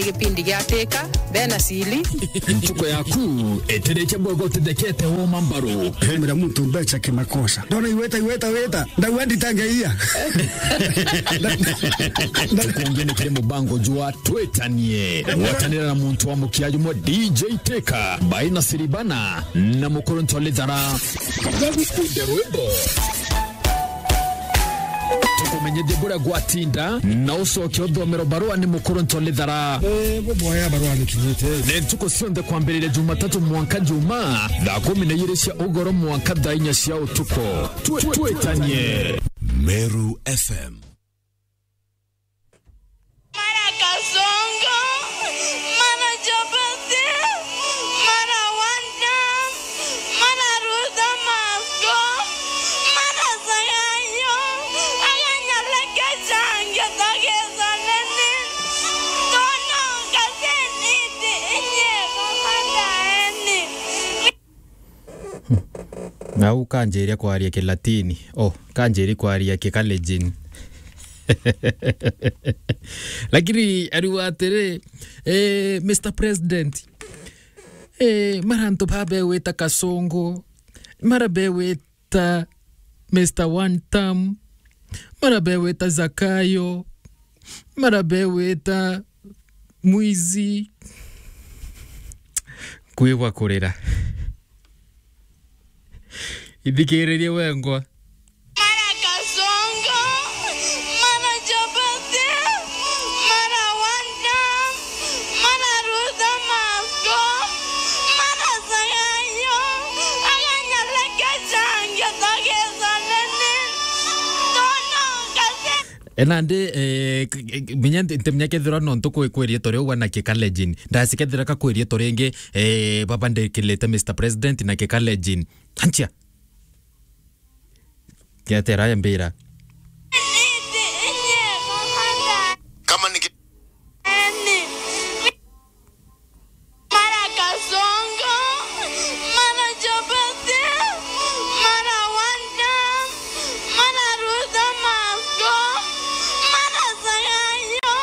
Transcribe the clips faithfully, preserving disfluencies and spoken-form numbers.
Gipindi gia Teka, bena sili. Ntuku yaku itirikia bwega utithekete woma mbaru. Mira muntu mbecha kimakosa. Ndona iweta, iweta, weta. Ndauga nditangeia. Tukungi ni kiri mubango jwa Twitanie. Gwatanira na muntu wa mukia jumwe D J Teka, Baina Siribana, na Mukuru Ntolithara. Gagukunde rwimbo. Tukumenyithie buria gwatinda, na ucoke uthomero barua ni Mukuru Ntolithara. Eh, buboya barua nikinyite. Ni ntuku cionthe kwambiriria Jumatatu mwanka Juma, thaa kumi na ijiri cia ugoro mwanka thaa inya cia utuku. Twi-, twitanie. Meru F M. Mara Kasongo, mara Chapati, mara Wanda, mara Ruta Masko, mara Sagayo, aganyaleke change togezaneni, tono kaseniti inye kamadaeni. Nau kanjiria kwaria Kilatini. Oh, kanjiria kwaria Kikalejin. Lakini ariuga atiri, eh, Mister President, eh, mara antu babewita Kasongo, mara bewita Mister One Term, mara bewita Zakayo, mara bewita mwizi. Kwigua kurira. Ithikiririe wengwa. Mara Kasongo, mara Chapati, mara Wanda, mara Ruta Masko, mara Sagayo, aganyaleke change togezaneni, tono kase. E nandi, eh, k-, k-, minya nti-, ntimenya kethirwa nontu kwi-, kwi riitwa riu we na Kikalejin. Ndasi kethira ka kwi riitwa ringi, eh, baba ndikilite Mister President na Kikalejin. Anchia. Kiatera ya mbira. Kama ni ki- Mara Kasongo, mara Chapati, mara Wanda, mara Ruta Masko, mara Sagayo,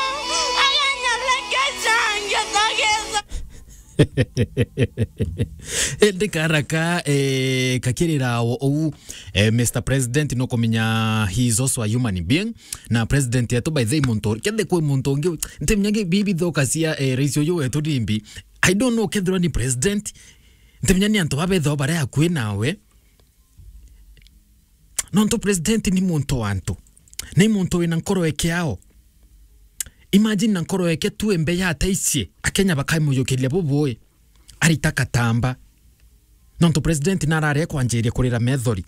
aganyaleke change togeza. Indi karaka, eh, kakirira o-, ou, eh, Mister President, nukumenya he is also a human being. Na president yetu, by the way, muntu, kende kwi muntu ungi, ntimenya ngi bibi thoka cia, eh, rais uyu wetu nimbi. I don't know kethirwa ni president, ntimenya ni antu babethagwa baria akui nawe. Nontu president ni muntu wa antu. Ni muntu wina nkoro ekeao. Imagine na nkoro eke tu embe ya ataicie, Akenya bakaimuyukiria bubui. Arita katamba. Nontu president narare kwanjiria kurira methori.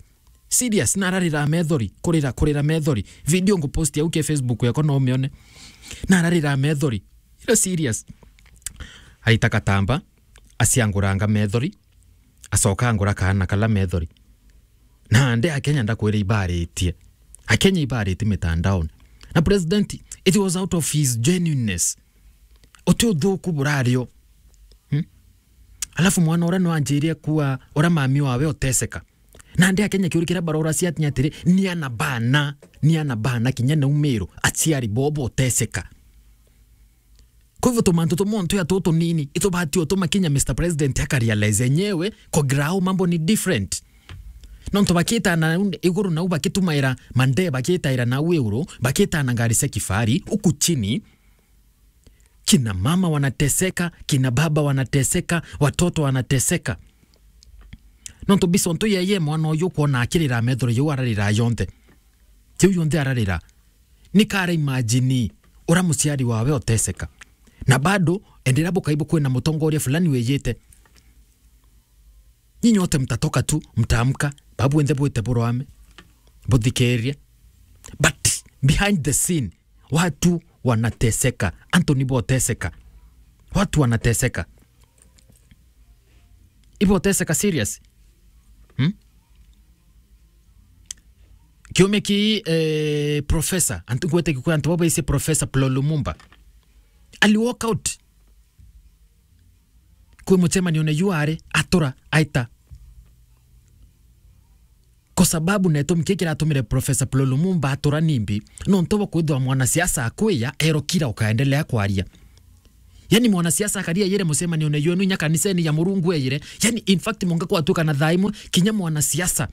Serious, nararira methori, kurira, kurira methori. Video nguposti au ke Facebook yako no umione. Nararira methori. Ira serious. Aita katamba, asianguranga methori, acoka angura kaana kala methori. Na ande Akenya ndakwira ibaritie. Akenya ibaritie mitandaoni. Na president, it was out of his genuineness. Uti uthuku burario. Hmm? Alafu mwana uria no anjirie kuwa uria mami wawe uteseka. Na ande Akenya kiuri kiria barora cia atinya atiri, ni ana bana, ni ana bana kinya na umiro, aciari bobo uteseka. Kwa hivyo tumantu tumwe ntu ya tutu nini, itubati utuma kinya Mister President akarealize enyewe, kogira au mambo ni different. Nontu bakitana iguru nau bakitumaira mande, bakitaira nau iguru, bakitana ngari cia kifahari, huku chini, kina mama wanateseka, kina baba wanateseka, watoto wanateseka. Nontu bisonto yeye mwana uyu kwona akirira methori yuu ararira yonthe. Kiu yonthe ararira. Ni kara imagine ura muciari wawe oteseka. Na bado, endera bukaibu kwina mutongoria fulani wiyite. Nyinyi wote mtatoka tu, mtaamka, babu wenthe bwite burwame, buthikirie. But behind the scene, watu wanateseka. Anthony boteseka. Watu wanateseka. Iboteseka serious. Hmm? Kiumia ki, eh, professor, antu ngwete kikwe antu baba ise Professor Paul Lumumba. Ali walk out. Kwi mucemanione yu ari, atura, aita. Kwa sababu na itumi kii kiratumire Professor Paul Lumumba atura nimbi, nontu bwa kwithwa mwanasiasa akwiya, erokira ukaendelea kwaria. Yani mwanasiasa akaria yere mucemanione yenu inya kaniseni ya Murungu eyire. Yani in fact, mwanka kwatuka na thaa imwe, kinya mwanasiasa,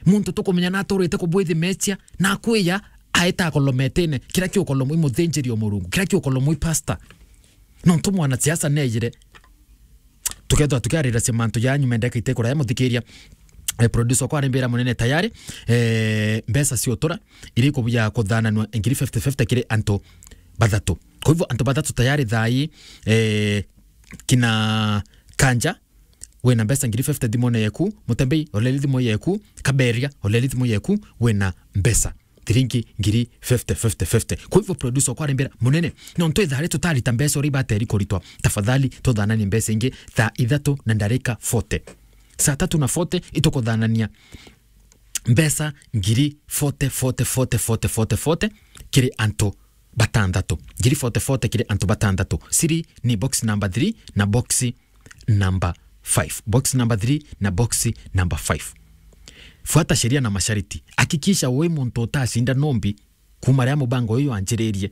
muntu tukumenya na aturite kubwithi metia, na akwiya aeta akolometene, kira kiukolomo i muthinjiri o Murungu, kira kiukolomo i pastor. Nontu mwanasiasa neyire. Tukethwa tukiarira cia mantu ya nyuma ndeka itekura ya muthikiria. Eh, producer kwa arembera munene tayari, eh, mbeca cia utura iri kubuya kuthananwa ngiri fifty fifty kiri antu bathatu. Kwa hivyo antu bathatu tayari thai, eh, kina Kanja, wina mbeca ngiri fifty thimone yeku, Mutembei, oleli thimu yeku, Kaberia, oleli thimu yeku, wina mbeca thiringi ngiri fifty, fifty, fifty. Kwa hivyo producer kwa arembera munene, nontu ithari tutarita mbeca uri bateri kuritwa, tafadhali tuthananie mbeca ingi thaa ithatu na ndarika forty. Saa tatu na forty itukuthanania mbeca ngiri forty, forty, forty, forty, forty, forty kiri antu batanthatu. Ngiri forty, forty kiri antu batanthatu. Siri ni box number three na box number five. Box number three na box number five. Fuata sheria na masharti. Hakikisha we muntu utacinda nombi kuma ria mubango uyu wanjiririe.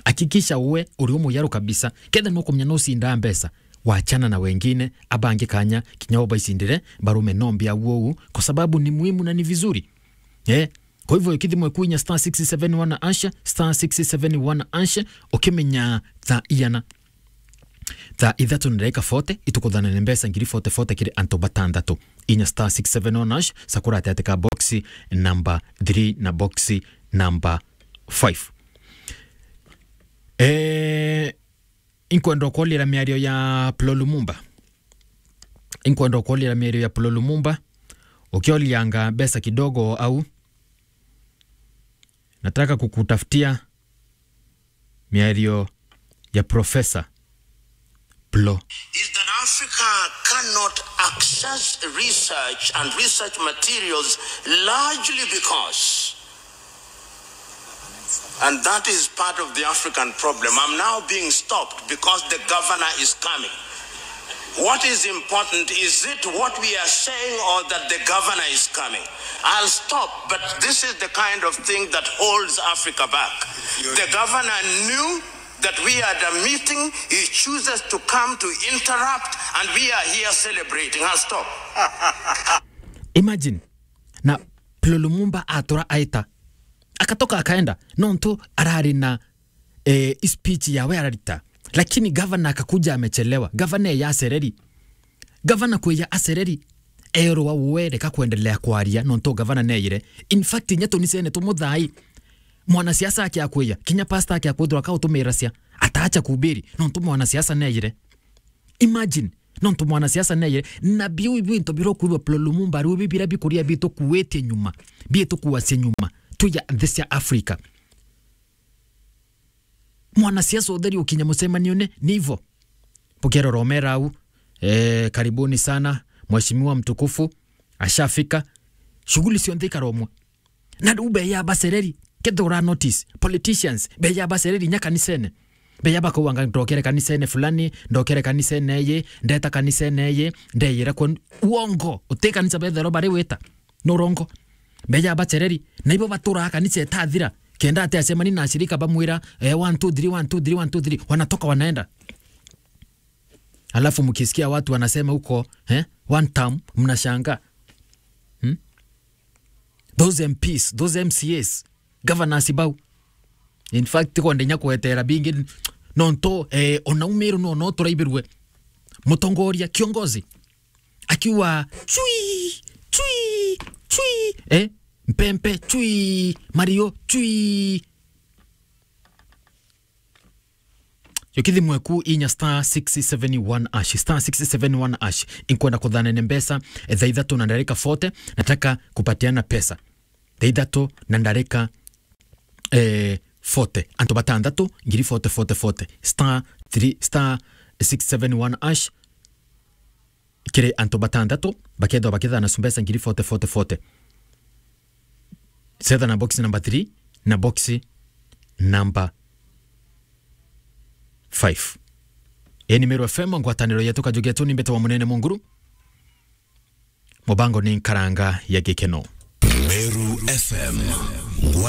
Hakikisha we uri umuyaru kabisa. Ketha nukumenya nucindaa mbeca, wachana na wengine, abangi kanya, kinya ubaicindire, barume nombi au ou, kwa sababu ni muhimu na ni vizuri. Eh, kwa hivyo, kithimo ikuinya star six seven one hash, star six seven one hash, ukimenya thaa iana. Thaa ithatu na ndagika forty, itukuthanane mbeca ngiri forty forty kiri antu batanthatu. Inya star six seven one hash, sakura ati ati ka box number three na box number five. Eh, inkwenda ukolira miario ya Plo Lumumba. Inkwenda ukolira miario ya Plo Lumumba. Ukiolianga mbeca kidogo au, nataka kukutafutia miario ya Professor Plo. Is that Africa cannot access research and research materials largely because, and that is part of the African problem. I'm now being stopped because the governor is coming. What is important? Is it what we are saying or that the governor is coming? I'll stop, but this is the kind of thing that holds Africa back. The governor knew that we had a meeting, he chooses to come to interrupt, and we are here celebrating. I'll stop. Imagine, na Plo Lumumba atura aita. Akatoka akaenda, nontu arari na eh, speech yawe ararita. Lakini gavana akakuja amechelewa. Gavana eya acereri. Gavana kweya acereri. Erwa we reka kuendelea kwaria, nontu gavana neyire. In fact, inya tunicene tumuthai. Mwanasiasa ake akwiya, kinya pastor ake akwithirwa akautumira cia, ataacha kuhubiri, nontu mwanasiasa neyire. Imagine, nontu mwanasiasa neyire, na biu bintu birokwirwa Plo Lumumba, riu bi biria bikuria bitukuitie nyuma, bitukuacia nyuma, tuya nthi cia Africa. Mwanasiasa utheri ukinya mucemanione, ni ivo. Bukerora omera au, eh, karibuni sana, mheshimiwa mtukufu, ashafika. Shughuli cionthe ikaromwa. Na riu beya bacereri, kethira ura notice, politicians, beya bacereri nya kanisene. Beya bakauga nga ndokere kanisene fulani, ndokere kanisene eye, ndeta kanisene eye, ndeyira kwa uongo, uti kanisa bethero bari wita. Ni urongo. Beya bacereri, na ibo baturaga kanisa etathira. Kenda ati acemani na ashirika bamwira, eh, one, two, three, one, two, three, one, two, three, wanatoka wanaenda. Alafu mkisikia watu wanasema huko, eh, one term, mnashangaa. Hmm? Those M Ps, those M C As, governors bau. In fact, kwenda inya kwetera bingi, nontu, eh, ona umiru no, no turaibirwe. Mutongoria, kiongozi, akiuga, "Chui, chui, chui," eh? Mpempe, "Chui," Mario, "Chui." Yo kithimo eku inya star six seven one hash, star six seven one hash. Inkwenda kuthanene mbeca, eh, thaa ithatu na ndarika forty, nataka kupatiana pesa. Thaa ithatu na ndarika, eh, forty. Antu batanthatu, ngiri forty, forty, forty. Star three, star six seven one hash. Kiri antu batanthatu, bakethwa bakithana su mbeca ngiri forty, forty, forty. Cetha na box number three na box number five. Ii ni Meru F M, ngwataniro yetu, kajugi yetu ni Mbete wa Munene Munguru. Mubango ni Nkaranga ya Gikeno. Meru F M, ngwataniro